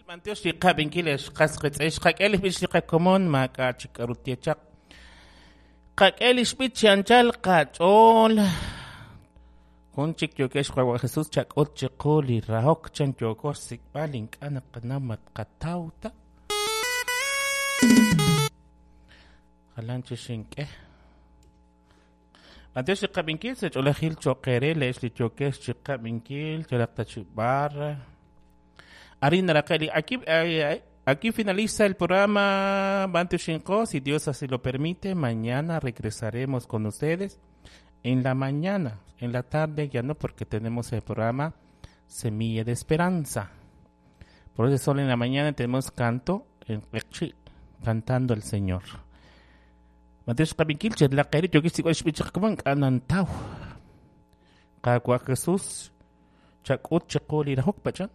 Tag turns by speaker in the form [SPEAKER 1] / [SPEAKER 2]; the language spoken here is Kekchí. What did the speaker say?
[SPEAKER 1] B'antiox li qab'inkil ex qas qiitz'in, xqak'e li b'ich li qakomon, maak'a' chik k'aru tye chaq. Qak'e li xb'ich chi anchal qach'ool. Jun chik yookex Qaawa' Jesus chak'ut chiqu li rahok chan yooko xsik'b'al ink'a' naqanaw ma tqataw ta. Jalan chi xink'e. B'antiox li qab'inkil sa' ch'oolejil cho'q eere leex li yookex chi qab'inkil yalaq ta chi b'ar. Arin naraqe' li aquí, aquí finaliza el programa B'antioxinqo, si Dios así lo permite, mañana regresaremos con ustedes en la mañana, en la tarde ya no porque tenemos el programa Semilla de Esperanza. Por eso solo en la mañana tenemos canto en Q'eqchi', cantando al Señor. B'antiox qab'inkil chelaq eere yookex xsik'b'al xb'ich qakomon ink'a' nantaw. Qaawa' Jesus, chak'ut chiqu li rahok pach'an.